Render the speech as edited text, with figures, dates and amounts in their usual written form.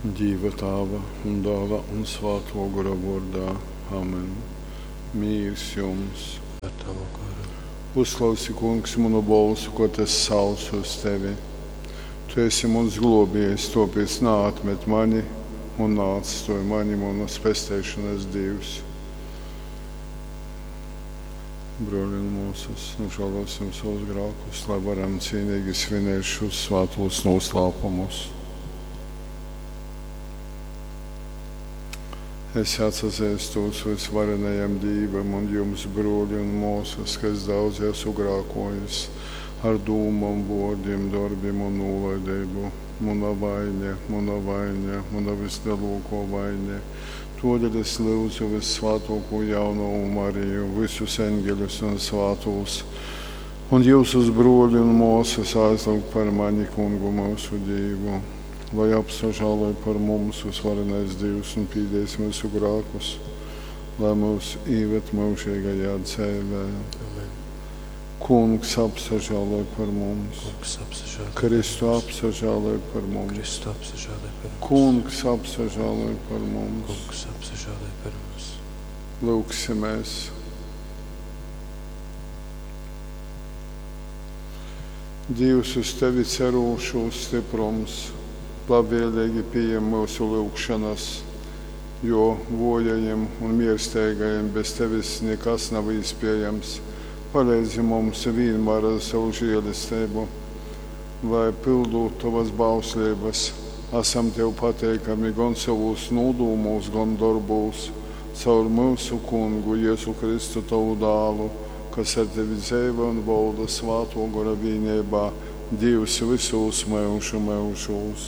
Dīva Tāva un Dāla un Svātuo Gora vuordā. Amen. Mīrs jums! Ar tavu goru. Uzklausi, Kungs, munu bolsu, kod es saucu uz tevi. Tu esi muns gluobiejs, tuopiec naatmet mani un naatstuoj mani, munas pesteišonas Dīvs. Bruoli un muosys, nožālosim savus grākus, lai varam cīnīgi svinēt šos svātos noslēpumus. Es atsazīstos visvarenajam Dīvam un jums, bruoli un muosys, ka es daudz esmu grākojis ar dūmom, vuordim, dorbim un nūlaideibu. Muna vaiņa, muna vaiņa, muna vislielākā vaiņa. Todēļ es lūdzu vissvātāko jaunavu Mariju, visus eņģeļus un svātos, un jūsus bruoli un muosys aizlūgt par mani kungu mūsu Dīvu lai apsažāloj par mums visvarenais Dīvs un pīdēs mūsu grākus, lai mūs īved mūžīgajā dzēvē. Amen. Kungs apsažāloj par mums, Kungs apsažāloj par Kristu mums. apsažāloj par mums, Kristu apsažāloj par mums. Kungs apsažāloj par mums. Kungs apsažāloj par mums. Lūksimies! Dievs uz tevi cerūšūs stiprums, labvēlīgi pieņem mūsu lūgšanas, jo vojajiem un miersteigajiem bez tevis nekas nav iespējams. Palīdzi mums vienmēr ar savu žēlistību, lai pildot tavas bauslības, esam tev pateikami gan savos nodūmos, gan darbos, caur mūsu kungu Jēzu Kristu tavu dālu, kas ar tevi dzeivo un valda svāto gora vienībā, Dievs visos mūžu mūžos.